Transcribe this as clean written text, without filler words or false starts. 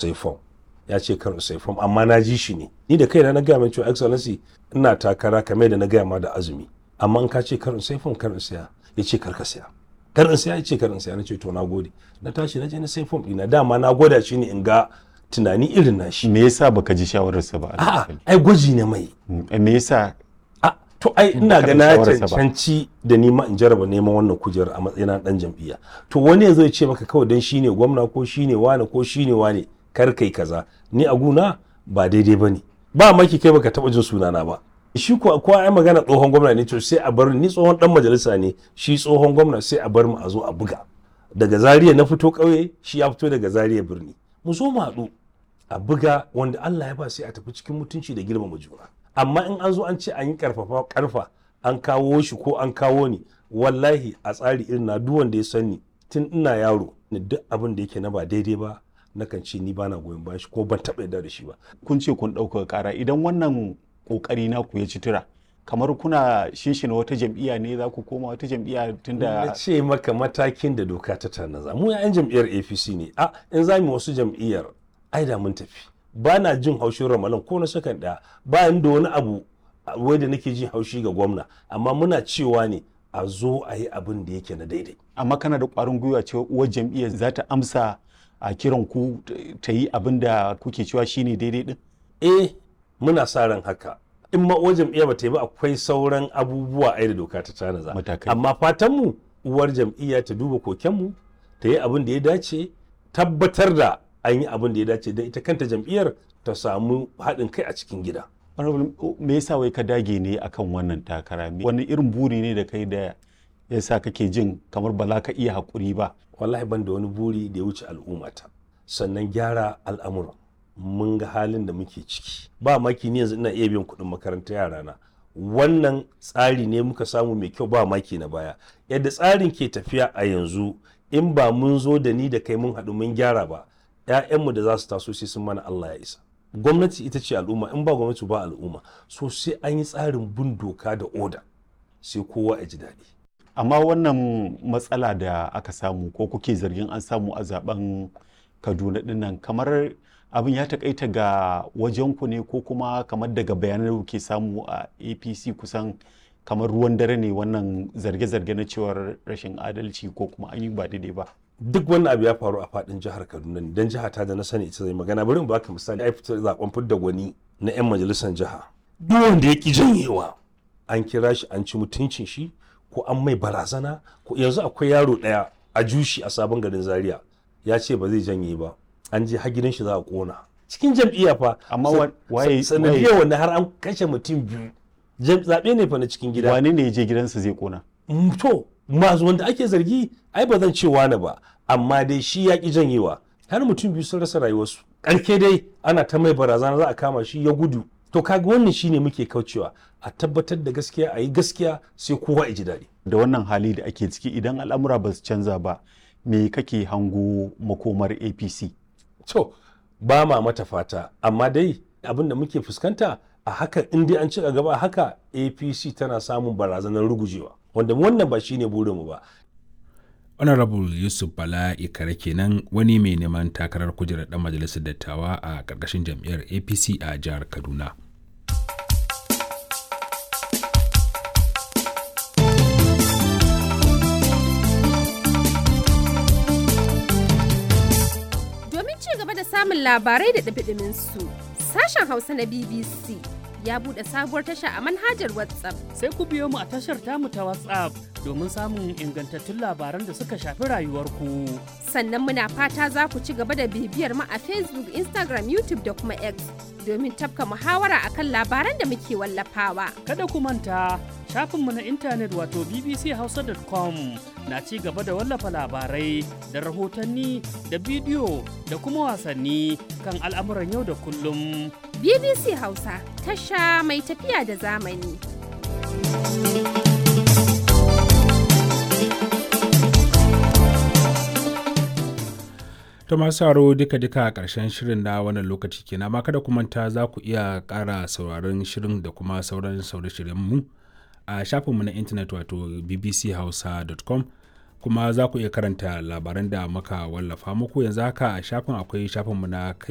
Sai fom ya ce kar in sai fom, amma na ji shi ne ni da kaina na gaya mai cewa, "Excellency, ina takara kamar da na gaya ma da azumi, amma in ka ce kar in sai fom, kar in saya." Ya ce kar ka saya, kar in saya. Ya ce kar in saya. Na ce to, na gode. Na tashi na je na sai fom ɗina. Dama na gwada shi ne in ga tunani irin na shi. Me yasa baka ji shawararsa ba? A'a, ai gwaji ne mai. Me yasa? A to, ai ina ga na shawararsa ba. cancanci da nima in jarraba neman wannan kujerar a matsayina na dan jam'iyya. To, wani ya zo ya ce maka kawai dan shine gwamna ko shine wane ko shine wane kar kai kaza, ni a guna ba daidai bane. Ba maki kai baka taba jin sunana ba. Shi ko ko ai magana tsohon gwamna ne, to sai a bar ni. Tsohon dan majalisa ne shi, tsohon gwamna, sai a bar mu a zo a buga. Daga Zaria na fito ƙauye, shi ya fito daga Zaria birni. Mu zo mu haɗu a buga, wanda Allah ya ba sai a tafi cikin mutunci da girmama juna. Amma in an zo an ce an yi karfafa karfa, an kawo shi ko an kawo ni, wallahi a tsari irin na duk wanda ya sani tun ina yaro ni, duk abin da yake na ba daidai ba nakan ce ni bana goyon bayan shi ko ban taɓa yarda da shi ba. Kun ce kun ɗaukaka ƙara. Idan wannan ƙoƙari naku ya ci tura, kamar kuna shinshina wata jam'iyya ne, za ku koma wata jam'iyya? Na Tunda ce maka matakin da doka ta tanaza, mu 'yan jam'iyyar APC ne. A in za mu wasu jam'iyyar, ai da mun tafi. Ba na jin haushin Ramalan ko na sakan ɗaya. Ba ni da wani abu wai da nake jin haushi ga gwamna, amma muna cewa ne a zo a yi abin da yake na daidai. Amma kana da ƙwarin gwiwa cewa uwar jam'iyyar za ta amsa a kiran ku ta yi abin da kuke cewa shine daidai din? Eh, muna sa ran haka. In ma uwar jam'iyya ba ta yi ba, akwai sauran abubuwa ai da doka ta tanaza. Matakai. Amma fatan mu uwar jam'iyya ta duba kokenmu, ta yi abin da ya dace, tabbatar da an yi abin da ya dace don ita kanta jam'iyyar ta samu haɗin kai a cikin gida. Honorable, me yasa wai ka dage ne akan wannan takara? Wani irin buri ne da kai da yasa kake jin kamar ba za ka iya haƙuri ba? Wallahi ban da wani buri da ya wuce al'ummata, sannan gyara al'amuran. Mun ga halin da muke ciki. Ba maki ni yanzu ina iya biyan kuɗin makarantar yarana. Wannan tsari ne muka samu mai kyau, ba maki na baya. Yadda tsarin ke tafiya a yanzu, in ba mun zo da ni da kai mun haɗu mun gyara ba, 'ya'yanmu da za su taso sai sun mana Allah ya isa. Gwamnati ita ce al'umma, in ba gwamnati ba al'umma. So sai an yi tsarin bin doka da oda, sai kowa ya ji daɗi. Amma wannan matsala da aka samu ko kuke zargin an samu a zaben Kaduna dinnan, kamar abin ya takaita ga wajenku ne, ko kuma kamar daga bayanan da kuke samu a APC kusan kamar ruwan dare ne wannan zarge-zarge na cewar rashin adalci ko kuma an yi ba daidai ba? Duk wannan abu ya faru a fadin jihar Kaduna ne, dan jiha ta da na sani ita zai magana. Bari in baka misali. Ai fitar zaben fidda gwani na yan majalisar jiha, duk wanda ya ki janyewa an kira shi an ci mutuncin shi ko an mai barazana. Ko yanzu akwai yaro daya a jushi a Sabon Garin Zaria, ya ce ba zai janye ba, an je har gidan shi za a kona. Cikin jam'iyya fa. Amma waye sanadiyar wannan har an kashe mutum biyu. Zaɓe ne fa na cikin gida. Wane ne ya je gidansa zai kona? To, masu wanda ake zargi ai ba zan ce wani ba, amma dai shi ya ki janyewa, har mutum biyu sun rasa rayuwarsu. Karke dai ana ta mai barazana za a kama shi, ya gudu. To, kaga wannan shine muke kaucewa. A tabbatar da gaskiya, a yi gaskiya, sai kowa ya ji daɗi. Da wannan hali da ake ciki, idan al'amura ba su canza ba, me kake hango makomar APC? To, ba ma mata fata, amma dai abin da muke fuskanta a haka, in dai an ci gaba a haka, APC tana samun barazanar rugujewa, wanda wannan ba shine burinmu ba. Honorable Yusuf Bala Ikare kenan, wani mai neman takarar kujerar dan majalisar dattawa a ƙarƙashin jam'iyyar APC a jihar Kaduna. Domin ci gaba da samun labarai da ɗumi su, sashen Hausa na BBC ya buɗe sabuwar tasha a manhajar WhatsApp. Sai ku biyo mu a tashar tamu ta WhatsApp domin samun ingantattun labaran da suka shafi rayuwarku. Sannan muna fata za ku ci gaba da bibiyar mu a Facebook, Instagram, YouTube da kuma X domin tafka muhawara akan labaran da muke wallafawa. Kada ku manta, shafinmu na intanet wato bbchausa.com na ci gaba da wallafa labarai da rahotanni da bidiyo da kuma wasanni kan al'amuran yau da kullum. BBC Hausa, tasha mai tafiya da zamani. To, masu sauraro, duka-duka a ƙarshen shirin na wannan lokaci kenan, amma kada ku manta za ku iya ƙara sauraron shirin da kuma sauran sauran mu a shafinmu na intanet wato bbchausa.com, kuma za ku iya karanta labaran da muka wallafa muku yanzu haka a shafin. Akwai shafinmu na kai